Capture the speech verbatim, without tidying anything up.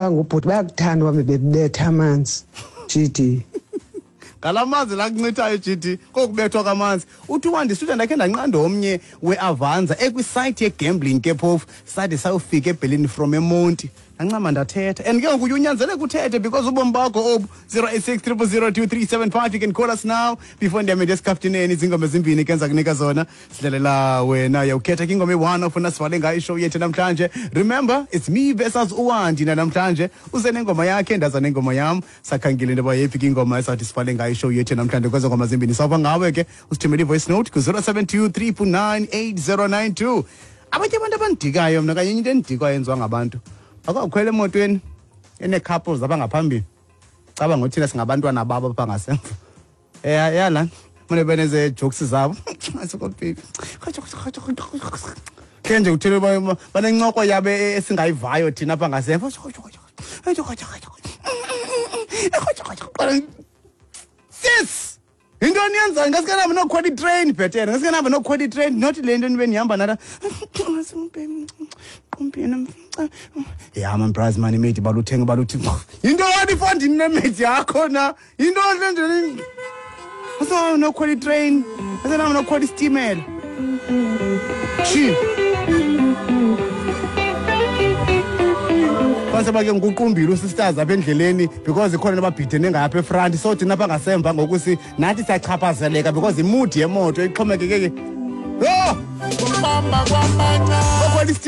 Ngubhuti bayakuthanda uhambe bebetha amanzi, G D. Ngala manzi la kuncithayo, G D, kokubethwa kwamanzi. Uthi uWandi suthi ndakhe ndanqanda omnye weAvanza ekwisayithi yegambling ke phofu, sade sayofika eBerlin from eMonti. Ndancama ndathetha, and ke ngoku uye unyanzeleke uthethe because ubomi bakho obu. zero eight six, triple zero, two three seven five, you can call us now before ndiyame ndiyesikaftineni. Izingoma ezimbini ke enza kunika zona, sidlalela wena, uyawukhetha ke ingoma eyi-one ofuna sivale ngayo ishow yethu namhlanje. Remember, it's me versus uWandi namhlanje. Uze nengoma yakhe, ndaza nengoma yam. Sakhangile into yoba yeyiphi ke ingoma esathi sivale ngayo ishow yethu namhlanje kwezo ngoma zimbini. Sawuva ngawe ke, usithumele i-voice note ku-zero seven two, three nine eight zero nine two. Abanye abantu abandidikayo mna, kanye into endidikwayo yenziwa ngabantu, akwakhwela emotweni enee-couples apha ngaphambili, caba ngothina singabantwana babo apha ngasemva. Ya yala mane beneze-jokes zabo khe nje kuthele banencoko yabo esingayivayo thina apha ngasemva. Sis, yintoni yenzayo? Ngaske nahambe nokhwela itrain bhetele, ngaske nahambe nokhwela itrain, not le nto nibe nihamba nala. Ya man, bras man, imate baluthenga baluthi yintoni ifondini nemate yakho na? Yintoni le nto? Asahambe nokhwela itrain, asahambe nokhwela isitimela. Shi base bake ngikuqumbile usisters apha endleleni because ikhona nababhidene ngapha efront, so thina apha ngasemva ngoku si nathi siyachaphazeleka because imudi yemoto ixhomekeke. Yho, okhwela.